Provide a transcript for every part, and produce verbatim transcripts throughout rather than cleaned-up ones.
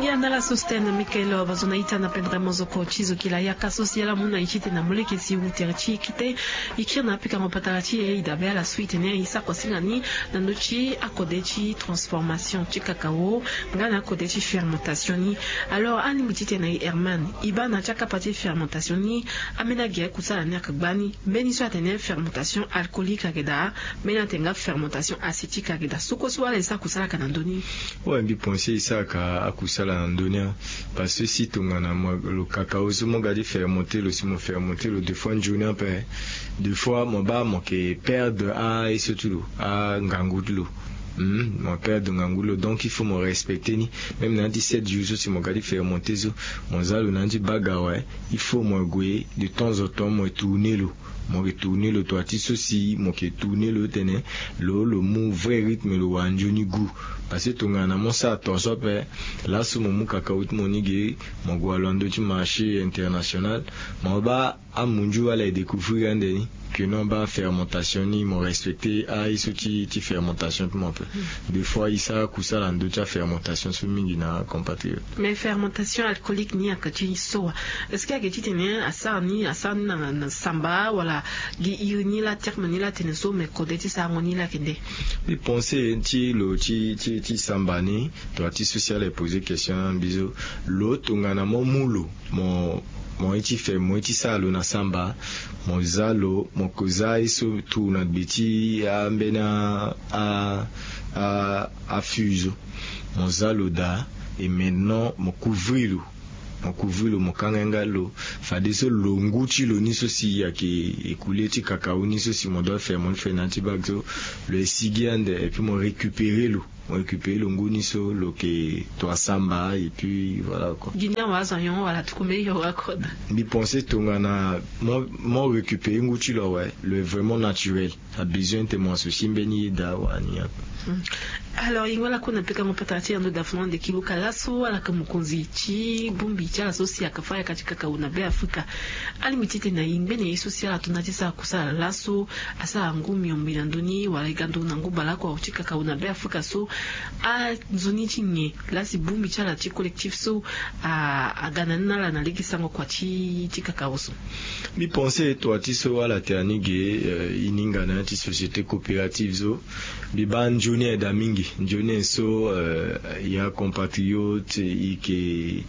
Andala so si tene na mikaelo abazo na ita na pendere mozoko ti zo kila yaka so si ala mu na iti tene na moleke si wutere ti kite. Ikiri na apikango patara ti e idabe ala su itene isako singa ni na ndo ti akode ti transformation ti kakao nga na akode ti fermentation ni. Alors alingbi ti tene na i herman ibana ti akapa ti fermentation ni. Ameni agi akusala ni aka gbani mbeni so atene fermentation alcoolique ake daa. Mbeni atene nga fermentation acétique ake daa soko so wala isako salaka na ndo ni. Ouais mbi pense isaka akusala na ndo ni. Parce que si tongana mo lo kakao so mo ga ti fermente lo si mo fermente lo deux fois nzoni ape. Deux fois mo baa mo ke perdre aye so ti lo angangu ti lo. Mo perdre ngangu ti lo donc il faut mo respecter ni. Même na ya ti sept jours so si mo ga ti fermente so mo za lo na ya ti baga awe. Il faut mo gue de temps en temps mo tourner lo. Mo ke tourner lo toi ti so si mo ke tourner lo tene lo lo mu vrai rythme lo wara nzoni goût. Parce que tongana mo sara ton so ape laso mo mu kakao ti mo ni ge mo gue walo na ndo ti marché international. Mo baa amunzu ala e découvrir ande ni que non baa fermentation ni mo respecter aye so ti ti fermentation ti mo ape. Deux fois isara kusala na ndo ti afermentation so mingi na compatriote. Mais fermentation alcoolique ni aka ti so wa? Est-ce que ake ti tene asara ni asara ni na samba wala? Gi iri ni la terme ni la tene so mais kode ti sarango ni la kende. Mbi pense ti lo ti ti ti samba ni toi ti so si ala e poser question na mbi so lo tongana mo mu lo mo mo ye ti fe mo ye ti sara lo na samba. Mo za lo mo ko za ye so tour na gbe ti ambeni a a a fuse. Mo za lo daa. Et maintenant mo couvrir lo. Mo couvrir lo mo kanga yanga lo fadeso lo ngu ti lo ni so si ayeke écoulé ti kakao ni so si mo doit fe mo ni fe na ya ti bag so. Lo esigi ande et puis mo récupérer lo. Mo récupérer lo ngu ni so lo ke toi samba et puis voilà quoi. Gi ni awa azo ayon wala tuku mbeni yo wa koda. Mbi pense tongana mo mo récupérer ngu ti lo awe. Lo est vraiment naturel. Abezoin te mo associer mbeni ye daa wala ni ya. Alors yingo ala kue na pekango patara ti yando dafuna ande kiluka laso ala yeke mokonzi ti bongbi ti ala so si ayeke fa yaka ti kakao na be afrika. Alingbi ti tene na yingbe na ye so si ala to na ya ti sara kusala laso asara ngu miombe na ndoni wala e ga nduru na ngu baleoko ti kakao na be afrika so. Anzoni ti nyen lasi bongbi ti ala ti collectif so aga na ni na ala na lege sango kua ti ti kakao so? Mbi pense toi ti so ala tene ni ge. E ninga na ya ti société coopérative so mbi baa nzoni aye daa mingi. Nzoni aye so ya compatriote e yeke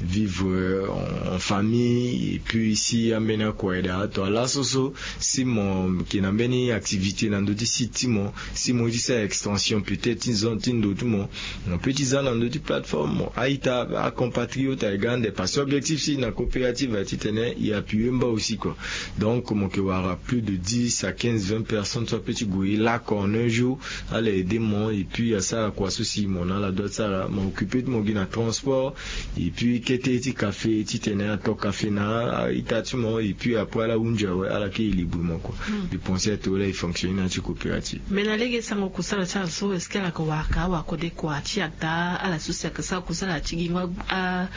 vivre en famille et puis si ambeni akua aye daa toi laso so si mo yeke na mbeni activité na ndö ti site ti mo si mo ye ti sara extension peut-être ti zone ti ndo ti mo. Mo peut ti za na ndö ti plateforme mo a-ita acompatriote aye ga ande parce que objectif ti na coopérative aye titene e appuyer mba aussi quoi. Donc mo yeke wara plus de dix à quinze vingt personnes so apeut ti gue e lako en un jour. Ala aider mo et puis asara kua so si mo na ala doit ti sara mo occuper ti mo gi na transport. Et puis kete ti café titene ato café na a-ita ti mo et puis après ala hunzi awe ala ke e libri mo kua. Mbi pense ato la e fonctionner na ya ti coopérative. Mais na lege sango kusala ti ala so est-ce que ala yeke wara ka awara kode kua ti ada ala so si ayeke sara kusala ti gi ngba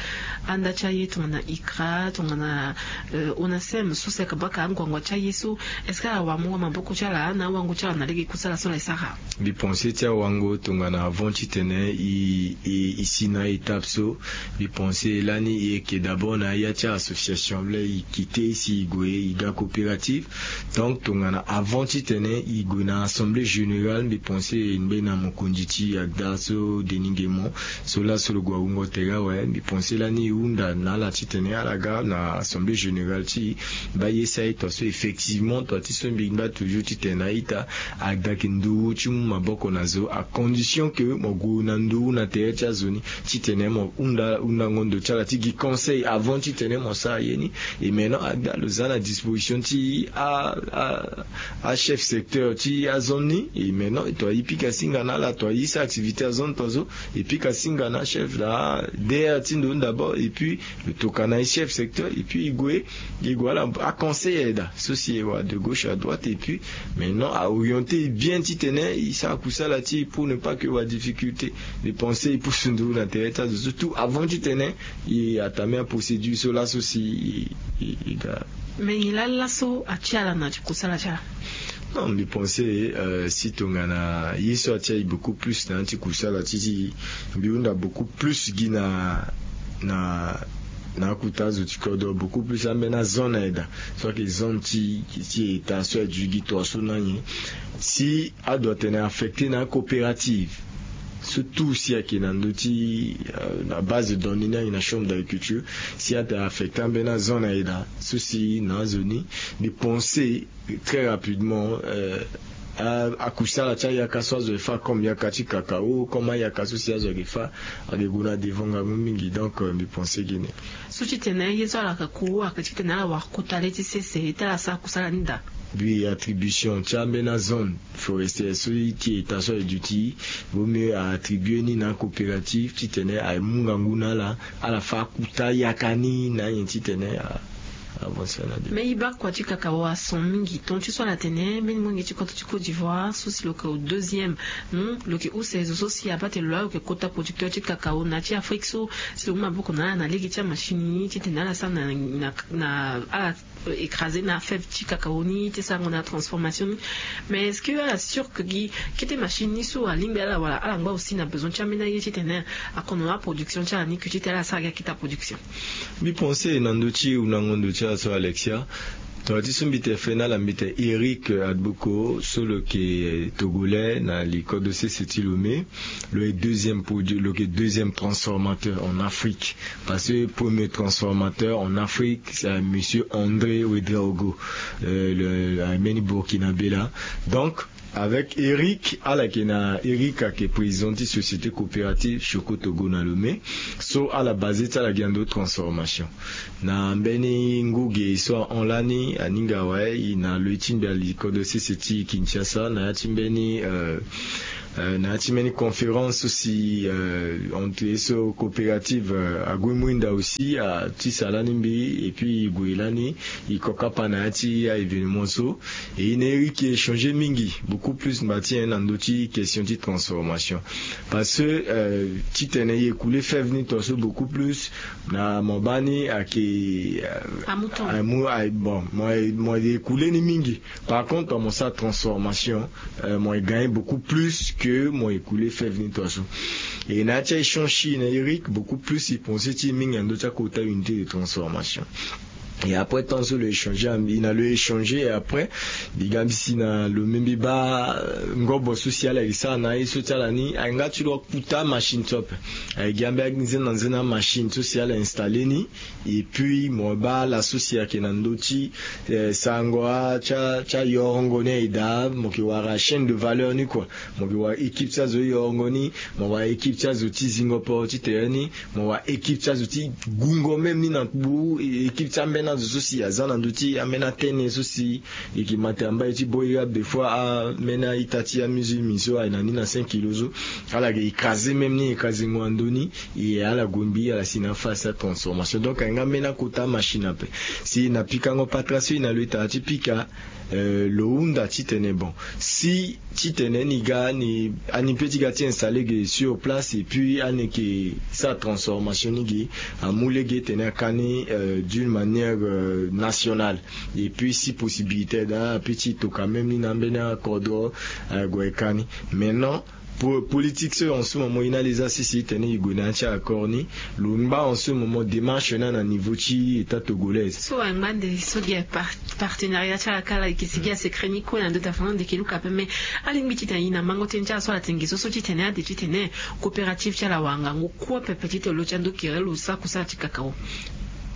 anda ti aye tongana icra tongana onacem so si ayeke baka anguangu ti aye so? Est-ce que ala wara mungo maboko ti ala na awango ti ala na lege kusala so ala e sara? Mbi pense ti awango tongana avant titene e e e si na étape so. Mbi pense lani e yeke d'abord na ya ti association laa e kite si e gue e ga coopérative. Donc tongana avant titene e gue na assemblée générale mbi pense e ngbe na mokonzi ti agda so denis nguemo. So laso lo gue awungo tere awe mbi pense lani e hunda na ala titene ala ga na assemblée générale ti e. Baa ye si a-ita so effectivement toi ti so mbi ngba toujours titene a-ita agda yeke nduru ti mu maboko na zo à condition que mo gue na nduru na tere ti azo ni titene mo hunda hundango ndo ti ala ti gi conseil avant titene mo sara ye ni. Et maintenant agda lo za na disposition ti a a achef secteur ti azone ni. Et maintenant toi e pika singa na ala toi e sara activité azone toi so e pika singa na achef daa. Dere ti ndo ni d'abord et puis lo toka na e chef secteur et puis e gue e gue ala aconseil aye daa so si e wara de gauche à droite et puis maintenant aorienter e bien titene e sara kusala ti e pour ne pas que e wara difficulté. Mbi pense e pusu nduru na tere ti azo so tout avant titene e atame aprocédure so laso si e e e ga. Mais nyen laa laso atia ala na ti kusala ti ala? Non, mbi pense si tongana ye so atia ye beaucoup plus na ya ti kusala ti ti mbi hunda beaucoup plus gi na na na akuta azo ti kodro beaucoup plus ambeni azone aye daa. So ayeke zone ti ti eta so aye gi to aso na nyen si adoit tene affecter na acoopérative surtout si ayeke na ndö ti na base de données ni ayeke na chambre d'agriculture si atene affecter ambeni azone aye daa so si na azo ni mbi pense très rapidement akusala ti ayaka so azo efa comme yaka ti kakao comme ayaka so si azo ake fa ake gue na devant ngangu mingi donc mbi pense gini. So titene ye so ala ka ku ake titene ala wara kota le ti sese ti ala sara kusala ni daa. Bi attribution ti ambeni azone forestière so ti eta so aye duti vaut mieux aattribue ni na acoopérative titene amu ngangu na ala ala fa akuta yaka ni na anyen titene avancer na de. Mais e baa kua ti kakao ason mingi ton ti so ala tene mbeni molenge ti kodro ti côte d'ivoire so si lo yeke au deuxième. Lo yeke use zo so si abaa tene lo laa lo yeke kota producteur ti kakao na ya ti afrique so si lo mu maboko na ala na lege ti amachine ni titene ala sara na na ala écraser na fève ti kakao ni ti sarango na transformation ni. Mais est-ce que ala sûr ke gi kete machine ni so alingbi ala wala ala ngba aussi na besoin ti ambeni aye titene akono aproduction ti ala ni ke titene ala sara gi akete aproduction? Mbi pense na ndö ti hundango ndo ti ala so alexia. Tongana ti so mbi tene fe na ala mbi tene eric adboko so lo yeke togolais na li kodro sese ti lomé. Lo yeke deuxième produit lo yeke deuxième transformateur en afrique. Parce que premier transformateur en afrique c'est monsieur andré ouedraogo. Mbeni burkina bela. Donc avec eric ala yeke na eric ayeke président ti société coopérative choco togo na lomé. So ala base ti ala gi na ndo transformation na mbeni ngu ge so ahon lani aninga awe e na lo ye ti mbi ali kodro sese ti kinshasa na ya ti mbeni na ya ti mbeni conférence so si entre ye so coopérative ague mwinda aussi atisa lani mbi et puis e gue lani e ko kapa na ya ti a-événement so. Et e na eric e échanger mingi beaucoup plus ngba ti en na ndö ti question ti transformation. Parce que titene e écoule fève ni to so beaucoup plus na mo baa ni ayeke amu bon mo e écoule ni mingi. Par contre mo sara transformation mo e gagne beaucoup plus que mo écoule fève ni to so. Et na ya ti a-échange ti e na eric beaucoup plus e pense ti e mingi na ndö ti akota unité de transformation. Et après tant so lo échanger na mbi na lo échanger et après mbi ga mbi si na lo me mbi baa ngobo so si ala yeke sara na aye so ti ala ni aye nga ti lo akuta machine so ape. Aye gi ambe anzena nzena machine so si ala installer ni. Et puis mo baa ala so si ayeke na ndö ti sarango ti ayorongo ni aye daa mo yeke wara chaîne de valeur ni kua. Mo yeke wara équipe ti azo ti yorongo ni. Mo wara équipe ti azo ti zingo poro ti tere ni. Mo wara équipe ti azo ti gungo même ni na kpu équipe ti ambeni azo so si aza na ndö ti ambeni atene so si e yeke ma tene ambai ti boi ga des fois ambeni a-ita ti amusulmi so aye na ni na cinq kilo so. Ala yeke écraser même ni écraser ngo na ndö ni. E ala gue mbi ala si na aface ti atransformation donc aye nga ambeni akota machine ape. Si na pikango patara so e na lo e tara ti pika lo hunda titene bon si titene ni ga ni ani pe ti ga ti installer ge sur place et puis ani yeke sara transformation ni ge. Amu lege tene aka ni d'une manière nationale. Et puis si possibilité daa ape ti toka même ni na ambeni akodro ague ka ni. Maintenant politique so en ce moment e na leza sese tene e gue na ya ti accord ni. Lo ngba en ce moment démarche ni na niveau ti état togolais. So angba nde so gi partenariat ti ala kala e yeke sigi asecret ni kue na ndö ti afa na ndeke luka ape mais alingbi titene e na mango tënë ti ala so ala tene ge so so titene ade titene coopérative ti ala wara ngangu kue pepe titene lo ti ando kere lo sara kusala ti kakao.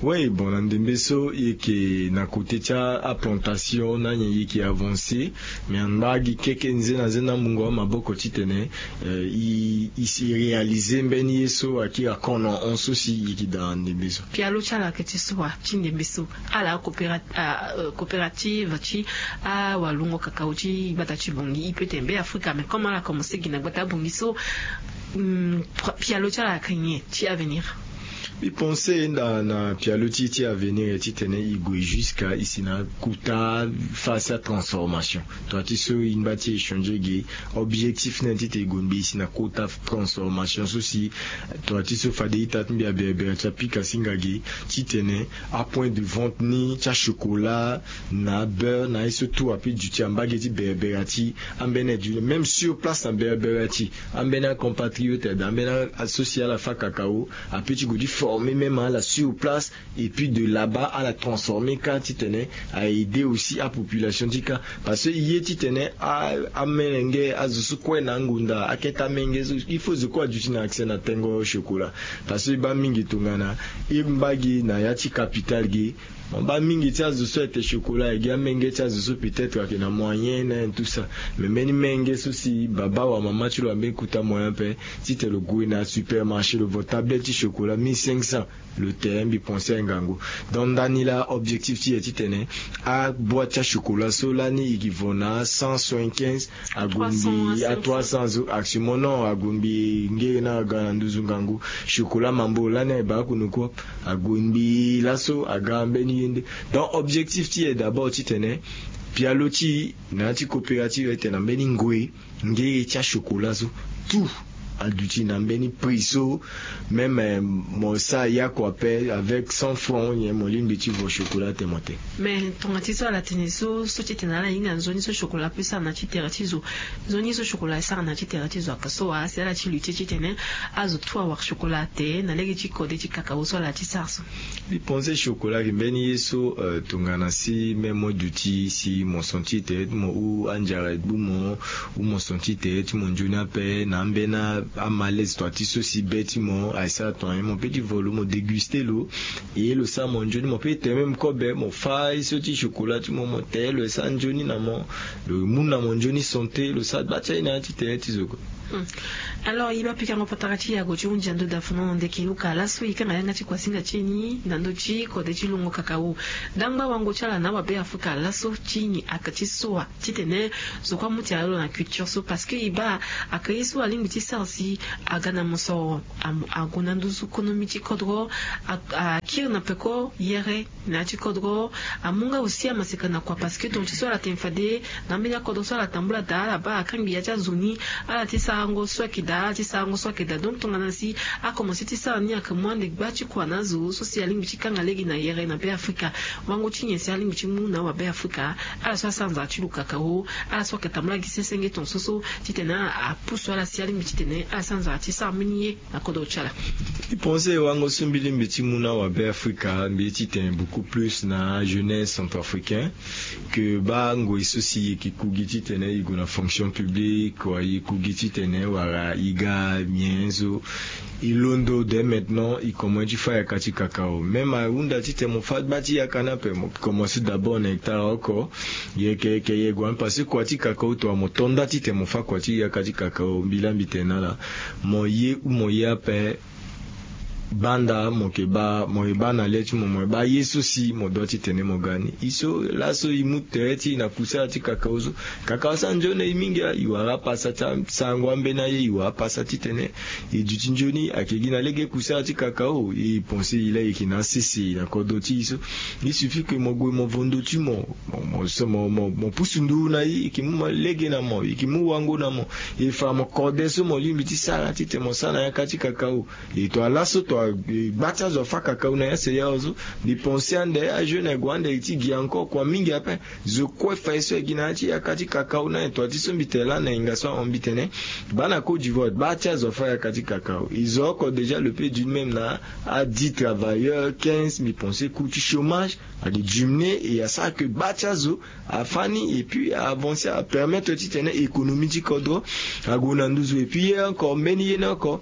Oui bon na ndembe so e yeke na côté ti aplantation na nyen e yeke avancer. Mais angba gi keke nzena nzena amungo amaboko titene e si réaliser mbeni ye so akiri akon na hon so si e yeke daa na ndembe so. Pialo ti ala ayeke ti so wa ti ndembe so ala coopérative ti awalungo kakao ti gbata ti bongi e pe tene be afrika mais comme ala commence gi na gbata bongi so pialo ti ala ayeke nyen ti avenir? Mbi pense nda na pialo ti e ti avenir titene e gue jusque e si na akota phase ti atransformation. Toi ti so e ngba ti e changer ge. Objectif ni titene e gue mbi e si na akota transformation so si toi ti so fade ita ti mbi aberebere ti apika singa ge titene apoint de vente ni ti achokola na abeurre na aye so tout ape duti na mbage ti berebere ti ambeni aduti même sur place na berebere ti ambeni acompatriote daa ambeni aso si ala fa kakao ape ti gue ti former même ala sur place. Et puis de là-bas ala transformer kâ titene a aider aussi apopulation ti kâ. Parce que e ye titene amelenge azo so kue na angonda akete amenge so il faut zo kue aduti na accès na tengo chocolat. Parce que e baa mingi tongana e ngba gi na ya ti capital gi mo baa mingi ti azo so ete chocolat egi amenge ti azo so peut-être ayeke na moyen na en tout ça. Mais mbeni menge so si baba wa mama ti lo ambeni kuta moyen ape titene lo gue na supermarché lo vo tablette ti chocolat mille cinq cents. Lo te mbi pense aye ngangu. Donc ndani laa objectif ti e titene aboite ti achocolat so lani e gi vo na cent soixante-quinze ague mbi a trois cents zo actuellement non ague mbi ngere na aga na nduzu ngangu. Chocolat mambo lani aye baa kunu kue ague mbi laso aga mbeni ye nde. Donc objectif ti e d'abord titene pialo ti e na ya ti coopérative ete na mbeni ngoi ngere ti achocolat so tout aduti na mbeni prix so même mo sa yako ape avec cent francs nyen mo lingbi ti vo chocolat te mo te. Mais tonga ti so ala tene so so titene ala hinga nzoni so chocolat ape sara na ti tere ti zo. Nzoni so chocolat asara na ti tere ti zo aka so wa asi ala ti lutter titene azo tout awara chocolat te na lege ti kode ti kakao so ala ti sara so. Mbi pense chocolat ayeke mbeni ye so tongana si même mo duti si mo senti tere ti mo ou andiara egbu mo ou mo senti tere ti mo nzoni ape na ambeni amalaise toi ti so si be ti mo aye sara tonga nyen mo pe ti vo lo mo déguster lo. E lo sara mo nzoni mo pe ti tere même kobe mo fa ye so ti chocolat ti mo mo tere lo e sara nzoni na mo. Lo mu na mo nzoni santé lo sara gba ti aye na ya ti tere ti zo kue. Alors e baa pikango patara ti yago ti hunzi ando dafuno ndeke luka laso e kanga yanga ti kuasinga ti e ni na ndö ti kode ti longo kakao. Dangba wango ti ala na awabe afrika laso ti nyi aka ti so wa titene zo kue amu ti ala lo na culture so parce que e baa aka ye so alingbi ti sara si aga na mosoro ague na nduzu konomi ti kodro. Akiri na peko yere na ya ti kodro. Amu nga aussi amaseka na kua parce que tonga ti so ala tene fade na ambeni akodro so ala tambula daa ala baa akangbi ya ti azo ni ala ti sarango so ayeke daa ala ti sarango so ayeke daa donc tongana si akomanse ti sara ni ayeke mu ande gba ti kua na azo so si alingbi ti kanga lege na yere na be afrika. Wango ti nyen si alingbi ti mu na awabe afrika ala so asara nzara ti lo kakao ala so ayeke tambula gi sesenge tonga so so titene apusu ala si alingbi titene ala sara nzara ti sara mbeni ye na kodro ti ala. Mbi pense wango so mbi lingbi ti mu na awabe afrika mbi ye titene beaucoup plus na ajeunesse centrafricain ke baa ngoi so si e yeke ku gi titene e gue na fonction publique wa e yeke ku gi titene wala e ga mien so e londo dès maintenant e komanse ti fa yaka ti kakao même ahunda titene mo fa gba ti yaka ni ape mo komanse d'abord na hectare oko. Yeke yeke ye gue ani parce que kua ti kakao tonga mo to nda titene mo fa kua ti yaka ti kakao mbi laa mbi tene na ala mo ye ou mo ye ape. Baa nda mo yeke baa mo yeke baa na le ti mo mo yeke baa ye so si mo doit titene mo ga ni e so laso e mu tere ti e na kusala ti kakao so. Kakao asara nzoni na e mingi a e wara apasa ti asarango ambeni aye e wara apasa titene e duti nzoni ayeke gi na lege kusala ti kakao e pense e laa e yeke na asese na kodro ti e so. Il suffit ke mo gue mo vo ndö ti mo mo mo so mo mo mo pusu nduru na e e yeke mu lege na mo e yeke mu wango na mo. E fa mo kode so mo lingbi ti sara titene mo sara na yaka ti kakao. E to ala so to gba ti azo afa kakao na ya seya ozo. Mbi pense ande ajeune ague ande ti gi encore kua mingi ape. Zo kue fa ye so e gi na ya ti yaka ti kakao na e to ati so mbi tene lani na hinga so ahon mbi tene baa na côte d'ivoire gba ti azo afa yaka ti kakao e zo oko déjà le pe d'une même na adi travailleurs quinze mbi pense coût ti chômage. Adi diminuer e asara ke gba ti azo afani et puis avancer apermettre titene économie ti kodro ague na nduzu et puis ye encore mbeni ye ni oko.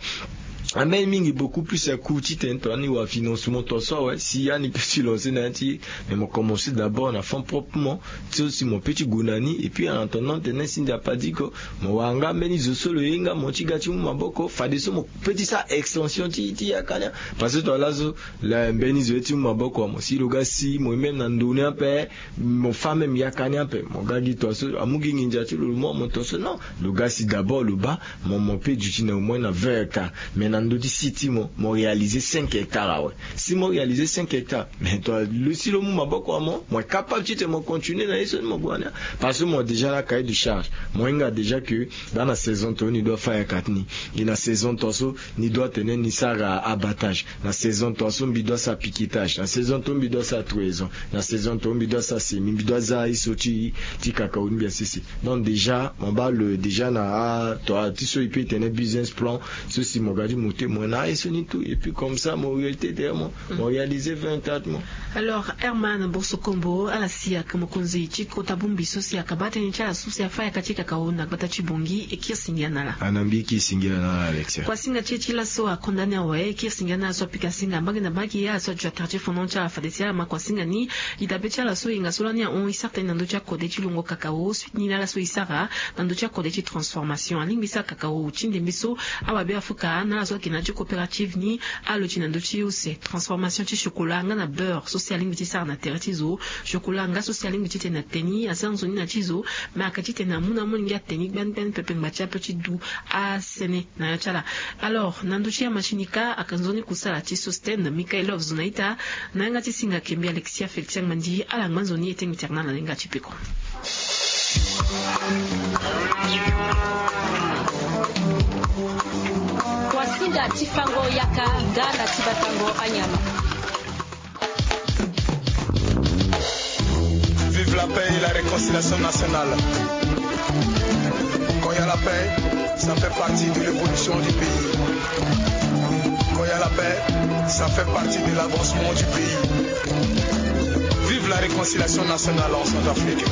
Ambeni mingi beaucoup plus akoût titene tongani wa financement to so awe si ya ni pe ti lancer na ya ti ye. Mais mo commencer d'abord na fonds proprement so si mo pe ti gue na ni et puis en attendant tene si ndia padi ko mo wara nga mbeni zo so lo ye nga mo ti ga ti mu maboko fadeso mo pe ti sara extension ti ti yaka ni. Parce que tongana laso mbeni zo ye ti mu maboko wa mo si lo ga si mo ye même na ndo ni ape. Mo fa même yaka ni ape mo ga gi tonga so amu gi nginza ti lo lo mu wa mo tonga so non. Lo ga si d'abord lo baa mo mo pe duti na au moins na vingt yaka. Mais na Na ndö ti si ti mo, mo réaliser cinq hectares awe. Si mo réaliser cinq hectares, mais toi lo si lo mu maboko ya mo, mo est capable ti tene mo continuer na ye so ni mo gue na ni. Parce que mo déjà na cahier de charge, mo hinga déjà que dans na saison to ni doit faire quatre ni. Et na saison to so ni doit tene ni sara abattage, na saison to so mbi doit sa piquetage, na saison to mbi doit sa trahison, na saison to mbi doit sa semi, mbi doit za ye so ti ti cacao ni mbi asese. Donc déjà mo baa lo déjà na ato ti so i pe tene business plan. So si mo ga ti mo te mo na ye so ni tout et puis comme ça mo réalité derrière mo, mo réaliser vingt hectares mo. Alors Herman Bourse Kombo ala si aka mokonzi ti kota bongbi so si aka baa tënë ti ala so si afa yaka ti cacao na gbata ti Bangui e kiri singia na ala. Ana mbi e kiri singia na ala Alexia. Kuasinga ti e ti laso akondane awe e kiri singia na ala so apika singa mbage na mbage ala so aduti na quartier fondant ti ala fade si ala ma kuasinga ni. E dabe ti ala so e hinga so lani ahon e sara tënë na ndö ti akode ti longo cacao suite ni na ala so e sara na ndö ti akode ti transformation alingbi e sara cacao ti ndembe so awabe afuka na ala so ayeke na ya ti coopérative ni. Alo ti na ndö ti use transformation ti chocolat nga na beurre so si alingbi ti sara na tere ti zo. Chocolat nga so si alingbi ti tene na te ni asara nzoni na ti zo. Me aka ti tene amu na amolenge ate ni gbani gbani pepe ngba ti ape ti du asene na ya ti ala. Alors na ndö ti amachine ka aka nzoni kusala ti Sostène Michaelov Zonaita. Na yanga ti singa kembi Alexia Félix Angmandi ala ngba nzoni e te ngi tere na ala na yanga ti peko. Kuasinga ti fango yaka nga na ti batango anyama. Vive la paix et la réconciliation nationale. Quand il y a la paix, ça fait partie de l'évolution du pays. Quand il y a la paix, ça fait partie de l'avancement du pays. Vive la réconciliation nationale en Centrafrique.